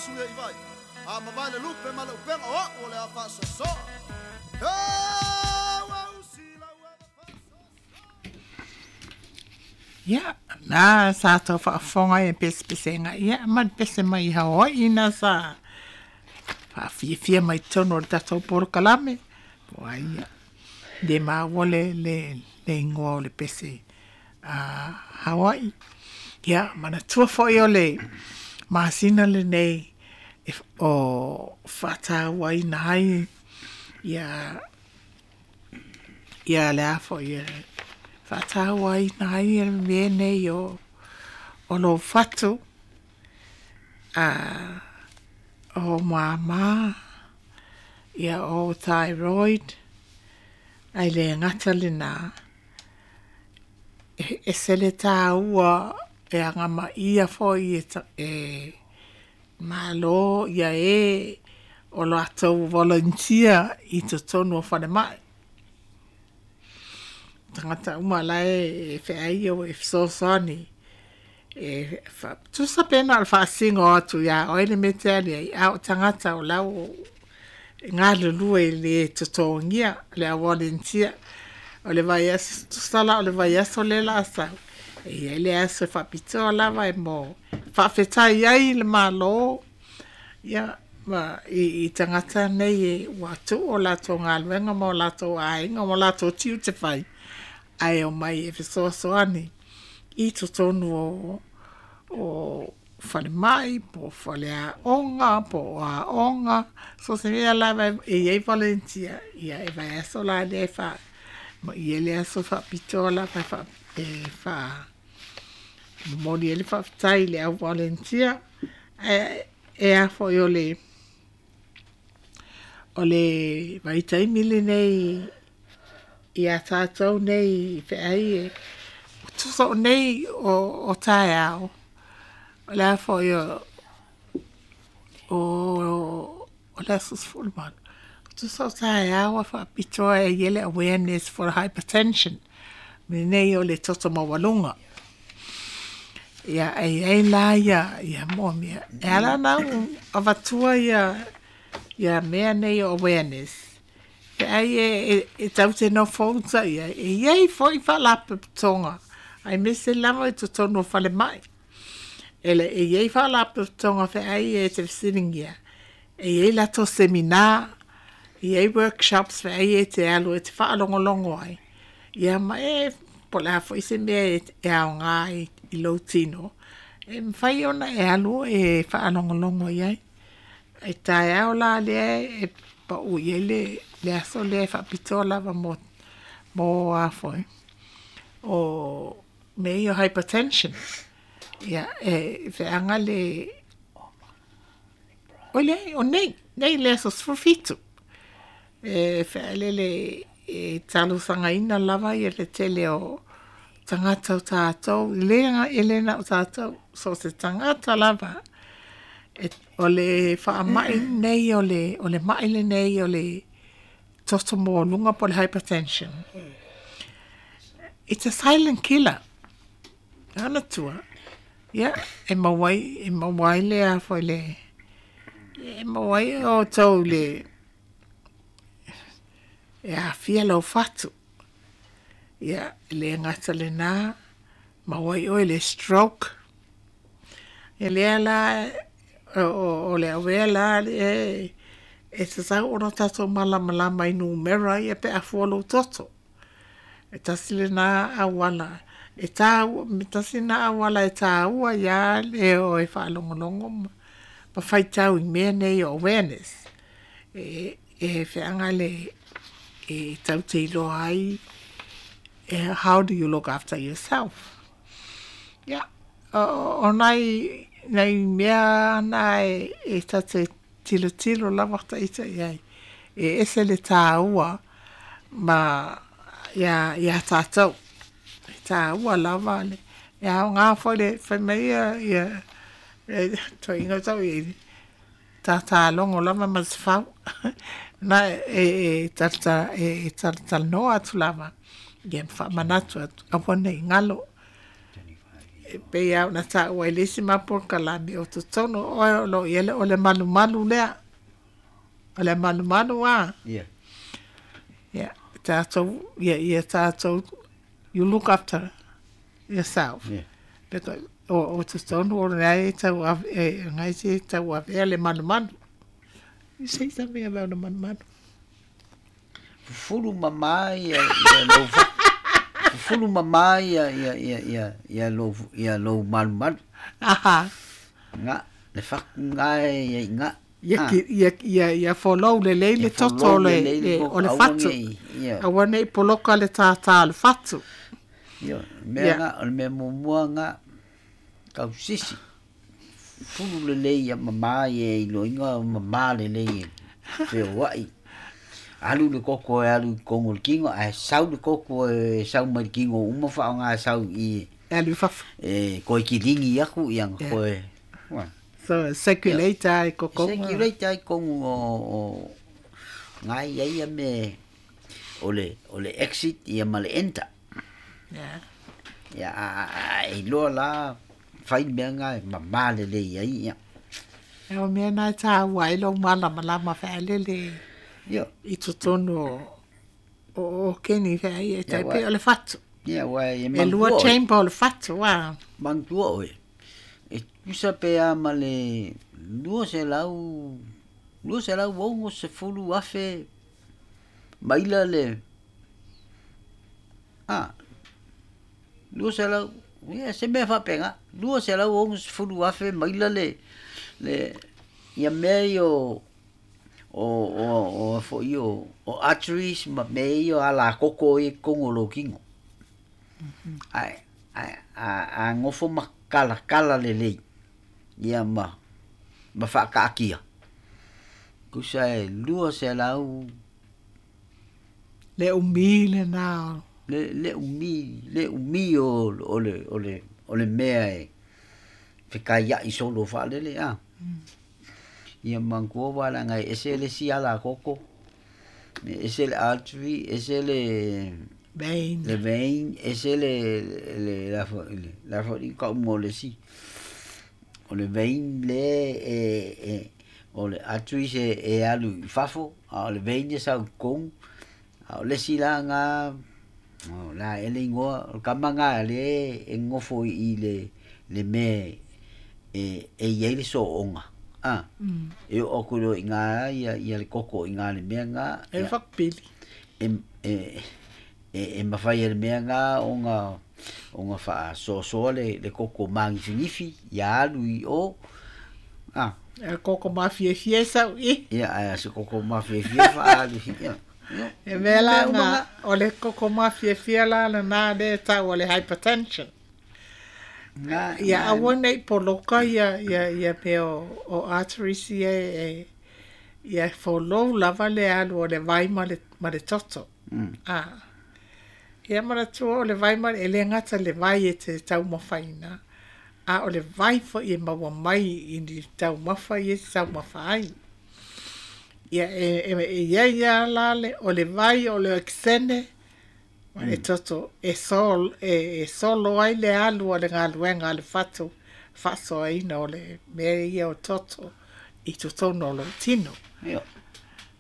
sui e i vai. A mavae le lupe ma le upega o a'u o le a faasoasoa. Ia, na sa tau faafofoga ai e pesepesega, ia ma le pese mai i Hawaii na sa faafiafia mai totonu o le tatou polokalame. Po ai ia, le maua le, le, le igoa o le pese a Hawaii. Ia, manatua foi o le masina lenei e, o faatauaina ai ia ia le a foi e faatauaina ai le mea nei o o lou fatu a o māmā ia o thyroid ae le gata lenā e ese le tāua e agamaia foi e, e Malo ia e o latou volunteer i totonu o falemai. Tagata uma la e feai o e fesoasoani e tusa pe na o le faasino atu iā oe le mea e te alu ai, a o tagata o la e galulue i le totogia le au volunteer. O le vaiaso, tusa la o le vaiaso lea o le a sau, e i ai le aso e faapitoa lava e mo faafetai ai le Malo ia ma i, i tagata nei e ua tuu o latou galuega ma o latou aiga ma o latou tiute fai, ae omai e fesoasoani i totonu o, o falemai po o faleaoga po o aoga, so o se mea lava e i ai volunteer, ia e vaiaso la lea e faa ma i ai le aso faapitoa lava e faa e faa momoli ai le faafetai i le au volunteer. Ae e a foi o le o le vaitaimi lenei iā tatou nei i feai e tusa o nei o, o taeao o le a foi o o o le aso 18 tusa o taeao a faapitoa e i ai le awareness for hypertension lenei o le toto maualuga. Ia e i ai la ia ia mo mea e ala ona au avatua ia ia mea nei o awareness pe ai e, e, e tau te nofo uta ia e i ai foi faalapotopotoga aemaise lava i totonu o falemai. E le e i ai faalapotopotoga feai e te fesiligia e i ai latou seminar, e i ai workshops feai e te alu e te faalogologo ai ia ma e po o le a foi se mea e aoga ai i lou tino e mafai ona e alu e faalogologo i ai. E taeao la lea e pau i ai le, le aso lea e faapitoa lava mo, mo a foi o mea ia o hypertension. Ia, e feaga le Oi leai, o nei, nei le aso 17. E whaelele e talosagaina lava ia le tele o tagata o tātou, i le e le na o tātou, so se tagata lava, e, o le whaamai nei o le, o le mai le nei o le toto maualuga po o le hypertension. It's a silent killer. Manatua, ia, e maua ai, e maua ai le a foi le, e maua ai outou le, e aafia lou fatu. Ia, e le gata lenā, maua ai oe le stroke. Ia lea la, o, o, o le awea la e, e tatau ona tatou malamalama i numera ia pe a fua lou toto. E tasi lenā auala e tāua, me tasi lenā auala e tāua iā le o e faalogologo ma, ma faitau i mea nei o awareness. E, e feaga le e tau te iloa ai e, how do you look after yourself. Ia, o, o nai, nai mea na e, e tate tilotilo lava ita i ai. E ese le tāua ma iā, iā tātou. E tāua lava le, e aoga foi le fai mai ia, ia, e, toeaiina o tau i tātālogo lava ma se fau. Na e, e, talata, e, e talatalanoa atu lava, ia faamanatu atu, aua nei galo. E pei lava ona taua i le isi ma polokalame o totonu o oe o lo o i ai o le malumalu lea. O le malumalu a. Ia. Ia, tatou, ia tatou, you look after yourself. Ia. Because o totonu o lena e tau e lena e tauavea le malumalu. You say something about the malumalu. Fufulu mamā ia ia lou fufulu mamā ia ia ia ia ia lou ia lou malumalu. Aha. Nga le fatu nga e ia i nga. Ia Ah. ia ia ia folou lelei le Ia toto folou o le lelei le le toto, o le aua fatu. nei, ia. Aua nei poloka le tātā o le fatu. Ia, mea Ia. nga o le mea muamua nga tausisi. Fufulu lelei ia mamā ia e iloaina o mamā lelei e feoai. Alu le koko e alu i totonu o le tino, ae sau le koko e sau mai le tino uma faaaoga e sau i E alu i fafo. e koe kiligi aku ia na Ia. koe. Ua. So circulate ai kokonga. Circulate ai totonu o ngai ia ia me o le exit ia ma le enter. Ia. Ia a a e iloa la fai le mea nga e mamā lelei ai ia. E o mea na e tāua ai lou malamalama faalele Ia. i totonu o o o keni feai e Ia tai wa. pei o le fatu. Ia wa e E lua manatua oe. chamber o le fatu a. Manatua oe. E tusa pe a ma le 200 260,000 maila le a 200 ia se mea faapena 260,000 maila le le ia mea ia o o o o foi o o arteries ma mea ia o alakoko i totonu o lou tino. Ae ae a a gofo ma kalakala lelei ia ma ma faakaatia. Tusa e 200 Le umi lena o. le le umi le umi o o le o le o le mea e fekaiai solo faalele a. Ia manatua valaga e ese le isi alakoko, e ese le artery, ese le Vein. le vein, ese le le la foi le la foi kauga o le isi. O le vein le e e o le artery e e alu i fafo, a o le vein e sau i totonu. A o le isi la ga o la ea le igoa o le tama lena lea e nonofo i i le le mea e e i ai le sooga a. E oo atu loa i ina ia ia le koko i ina i le mea lena. E Ia whakapili. e e e e mafai e le mea lena ona ona faasoasoa le le koko magifigifi ia alu i o a. E koko mafiafia e sau i. Ia ae se koko mafiafia faaalu ia. Ia. E mea la Mea uma nga, ga. o le koko mafiafia la lena lea e tau o le hypertension. Nga Ia nga aua nei poloka ia ia ia mea o, o arteries ia e, ia folou lava le alu o le vai ma le toto. A. Ia manatua o le vai ma e le gata le vai e te taumafaina, a o le vai foi e maua mai i ni taumafa ia e te taumafa ai. Ia e, e, e ia ia la le, o le vai o le okisene, ma le toto e, sol, e, e solo ai le alu o le galuega a le fatu faasoaina o le mea ia o toto i totonu o lou tino. Ia.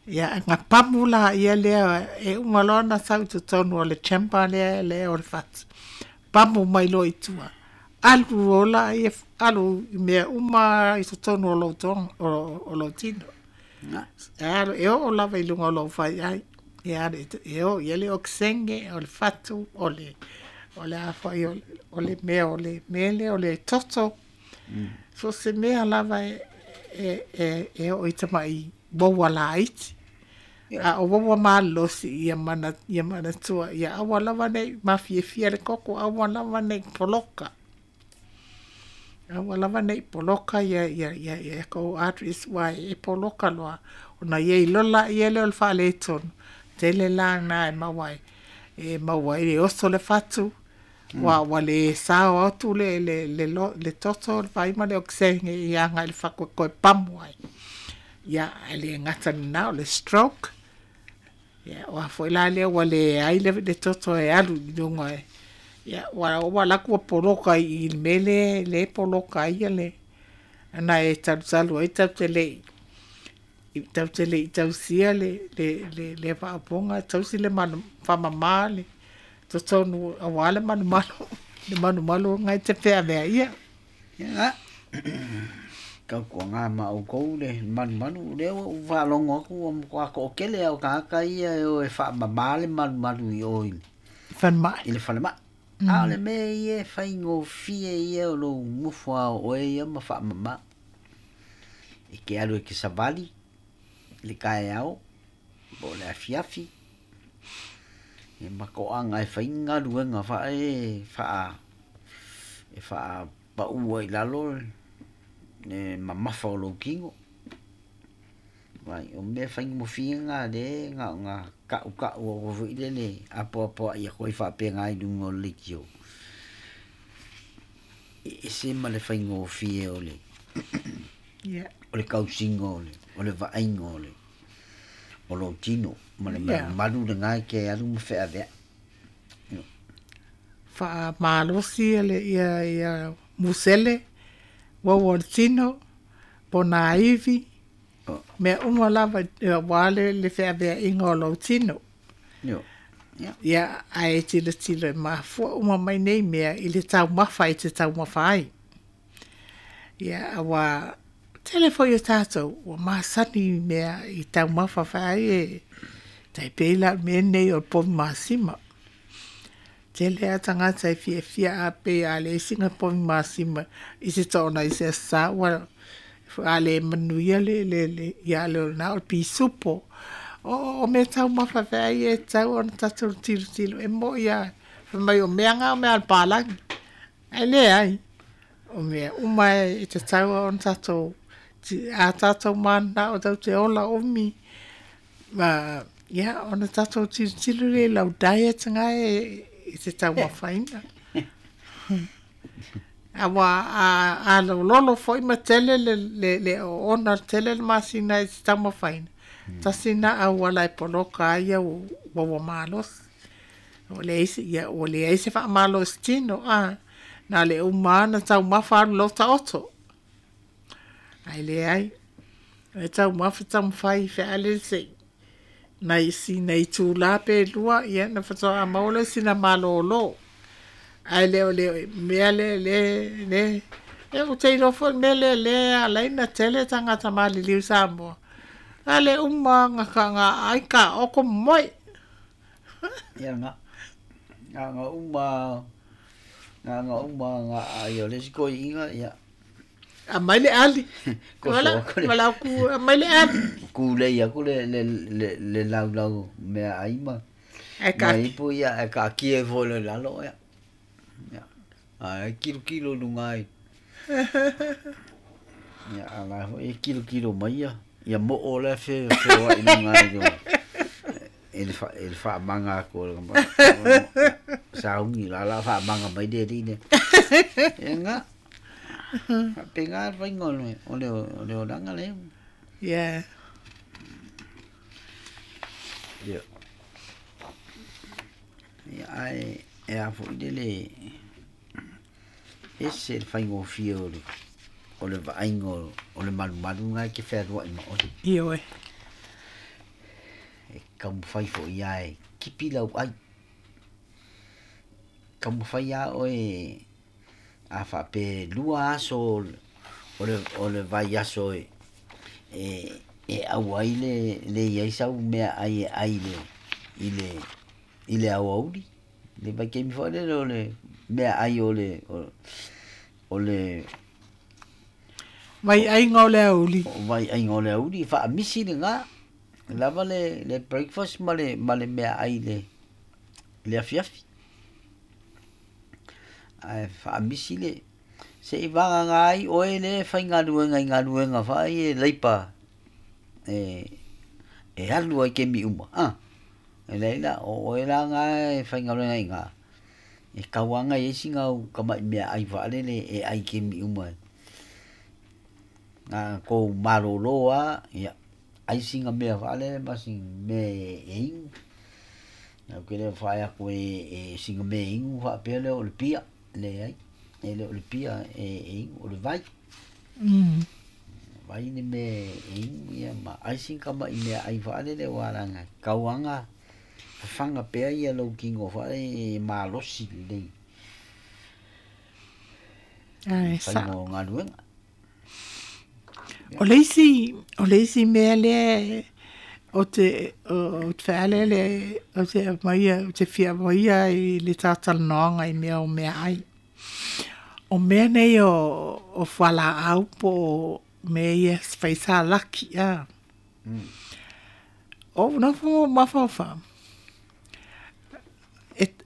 Ia, nga pamu la ia lea e uma loa ona sau i totonu o le chamber lea lea o le fatu. Pamu mai loa i tua. Alu ola ia alu i mea uma i totonu o lou toga o, o lou tino. Nga. E alu e oo lava i luga o lou faiai. E alu e oo ia le okisene o le fatu o le o le a foi o, o le mea o le mea lea o le toto. So se mea lava e e e, e oo i tamai waua laiti. Ia. A o waua malosi ia mana ia manatua ia aua lava nei mafiafia le koko aua lava nei poloka. Aua lava nei poloka ia ia ia ia kou arteries wai e poloka loa. Ona ia i lola ia lea o le faaletonu. Tele la na e maua ai. E maua ai e oso le fatu. Ua ua le sao atu le le le lo, le toto le vai ma le okisene i aga i le fakoe koe pamu ai. Ia e le gata lena o le stroke. Ia o a foi la lea ua le ai le, le toto e alu i luga e Ia ua ua alu atu ua poloka i le mea lea lea e poloka ai le ana e talutalu ai tatou te le i tatou te le i tausia le le le le faaopoga tausi le manu faamama le totonu aua le malumalu le malumalu na e te feaveaia. Ia tautuana ma outou le malumalu lea ua ou faalogo atu ua matua toatele lava o tagata ia e o e faamama le malumalu i o i Falemai. I le falemai. A o le mea ia e faigofie ia o lou nofo lava o oe ia ma faamama. E te alu e te savali i le taeao po o le afiafi ia ma toaga e fai ni galuega faae faa e faapaua i lalo le mamafa o lou tino. Vai o mea faigofie na lea na ona tautau atu foi lele apoapoai atu ai faapena i luga o le leitio. E ese ma le faigofie o le o le tausiga o le o le vaaiga o le o lou tino ma le malumalu lena e te alu ma feaveai. Faamalosi le ia ia musele uau o le tino, ponaivi, mea uma lava aua le le feaveaiga o lou tino. Ia, ae tilotilo e mafua uma mai nei mea i le taumafa e te taumafa ai. Ia, aua tele foi o tatou ua masani i mea i taumafa fai e tai pei la o le mea lenei o le povi masima. Tele lava tagata e fiafia a pei a leai sina povi masima i se toona i se Aso Sa ua a le manuia le le le ia le o lena o le pisupo. O mea taumafa feai e tatau ona tatou tilotilo e moi lava fai mai o mea na o mea a le palagi. Ae leai, o mea uma e tatau ona tatou a tatou mananao tatou te ola umi ma ia ona tatou tilotilo lea i lau diet na e te taumafaina. Aua a lololo foi ma tele le le le oona tele le masina e te taumafaina, tasi na auala e poloka ai au uaua malosi. Ua leai se ia ua leai se faamalositino na o le uma lava ona taumafa alu loa taoto. Ae leai, e taumafa taumafai fealele se i nai sina itula pe lua ia ona faatoa maua lea o sina malolo. Ae le o le mea lea le le ia ou te iloa foi le mea lea lea e ala ai ona tele tagata maliliu i Samoa, na o le uma lava ona aai taoto moe. Ia na, na ona uma na ona uma na aai o le isi toeaiina ia. Aumai le ali. Toso atu le Valaau ku aumai le ali. Tulei atu le le le le laulau meaai ma Ae ma kaatia. ipu ia ae kaatia ifo loa i lalo ia. Ia ae kilokilo i luga ai. Ia a la foi e kilokilo mai ia ia moo la e fe feoai i luga i le i le fa i le faamaga atu o le sauni la la faamaga mai le alii lea. Ia na. Faapena le faiga o le o le o le olaga lea. Yeah. Ia. Ia ae e a foi lele ese le faigofie o le o le vaaiga o le malumalu lena e te fealuai ma oe. Ioe. E taumafai foi lava e kipi lau ai. Taumafai lava oe a faapea e lua aso o le o le vaiaso e e e aua ai le le i ai sau meaai e ai i le i le i le aoauli le vaitaimi foi lele o le meaai o le o le Vaiaiga o le aoauli. O vaiaiga o le aoauli faamisi lena lava le le breakfast ma le ma le meaai i le le afiafi. Ae faamisi le se i vagana ai oe lea e faigaluega i galuega foi ia leipa e e alu ai i taimi uma a e leai la o oe la na e faigaluega i ina e tatau lava ona i ai sina au tamai meaai faalele e ai i taimi uma na ona tou malolo lava ia ai sina mea faalele ma sina mea e inu. Au ke le whai aku e singa me ingu wha pea leo o le pia. Le ai. E le o le pia e ingu o le vai. Vai ni me ingu ia ma ai singa ma i mea ai whaale le waranga. Kauanga whanga pea ia lau kingo whaale e malosi le. Ai, sa. Whaingo ngā luenga. O le isi mea lea o te whaale le o te maia o te fia maia i le tātalanoanga i mea o mea ai. O mea nei o whala au po mea ia whaisa laki a. O nofo mawhawha.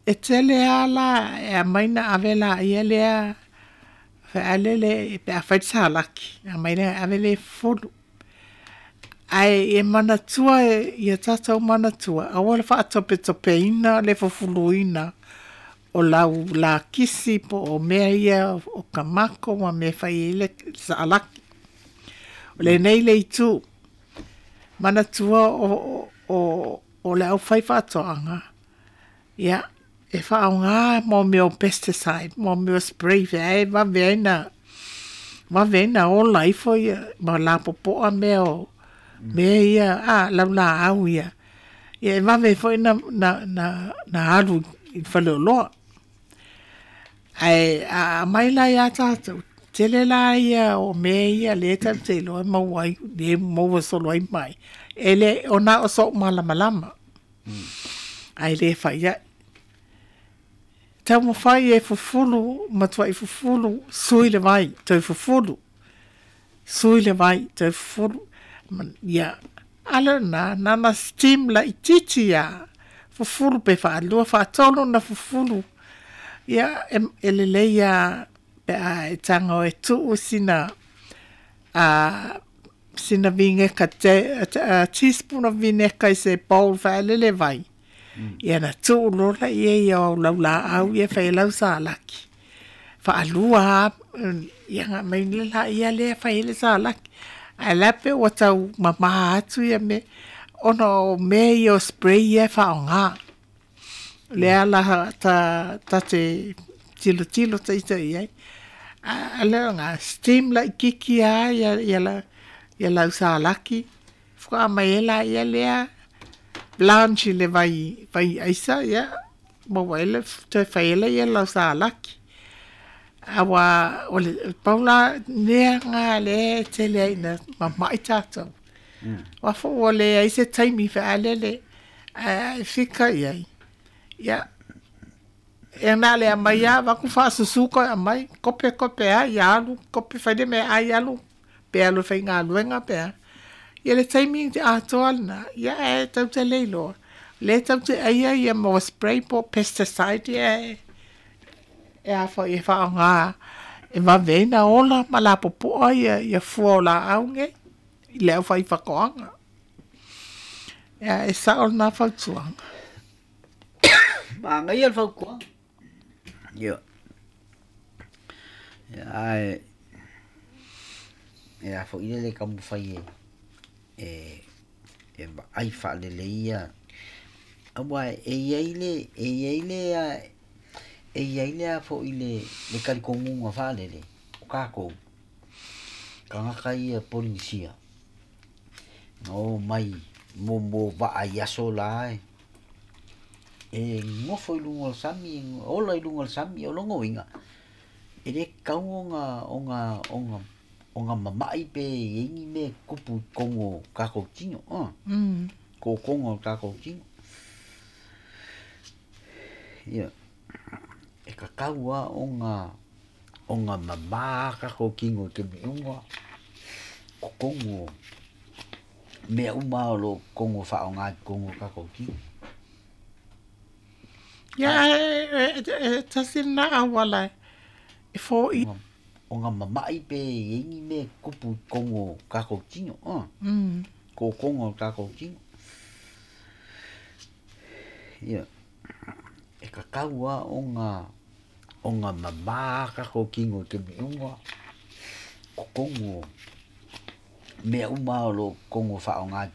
E tele ala e a maina avela ia lea whaalele pe a whaisa laki. A maina avele fulu. Ai e manatua ia tātou manatua. Aua le whaatope ina le fufuluina o lau la kisi po o mea ia o kamako ma mea whai le saalaki. O le nei le itu manatua o le au whai whaatoanga. Ia, e whaonga mō meo pesticide, mō meo spray whea e waweina o laifo ia, ma la popoa mea o mea ia, a, lau la au ia. Ia e wawe foi na alu i whaleoloa. Ai, a mai la ia tātou, tele la ia o mea ia le tau te loa mauai, le maua solo ai mai. E le o nā o so malamalama. Ai le whai ia. Tau mawhai e fufulu, matua i fufulu, sui le vai, tau fufulu. Sui le vai, tau fufulu. Ia, ala nā steam la i titi ia. Fufulu pe whaalua, whaatolu na fufulu. Ia, e lele ia, pe a e tango e tuu sina, sina vineka, teaspoon of vineka i se bowl whaalele vai. Ia na tuu lola ia ia o lau la au ia whai lau saalaki. Whaalua ia ngā mai la ia lea whai le saalaki. Ai lape o tau mamaha atu ia me ona o me ia o spray ia whaonga. Lea la ta te tilo tilo te ita ia. A lea ngā steam la i kiki a ia lau saalaki. Whaka mai e la ia lea blanche le vai aisa ia mo waile te whaele ia lau saalaki. Awa o le paula nea ngā le tele ina mamai tātou. Wafo o le ai se taimi whaalele a fika ia. Ia e nā le amai a waku whaasusuko a mai kope kope a ia alu kope whaide me ai alu pe alu whai ngā luenga pe a. Ia le taimi te atoa na, ia e tau te leiloa. Le tau te aia ia mo spray po pesticide ia e a wha i whaonga e waweina ola ma la popoa ia fua o la aunge i leo whai whakoanga. Ia e sao nā whautuanga. Ma ngai al whautuanga. Ia. Ia ai e a wha ine le kamu whai e ai whaalele ia. Awa e iai le a fo i le karikongunga whaalele o kākou. Kangaka ia Polinisia. No mai mo waa i aso la e. E ngofo i lunga o sami, ola i lunga o sami o longo inga. E le kau o ngā mamai pe ingi me kupu kongo kākou tino. Ko kongo kākou tino. Ia, e kakaua o ngā mamā kākou kingo te miunga. Ko kongo, mea uma o lo kongo whaonga kongo kākou tino. Ia, e tasi nā awala e fō i. O ngā mamai pe ingi me kupu kongo kākou tino. Ko kongo kākou tino. Ia, e kakaua o ngā mamā kākou kingo te miunga. Ko kongo, mea uma o lo kongo whaonga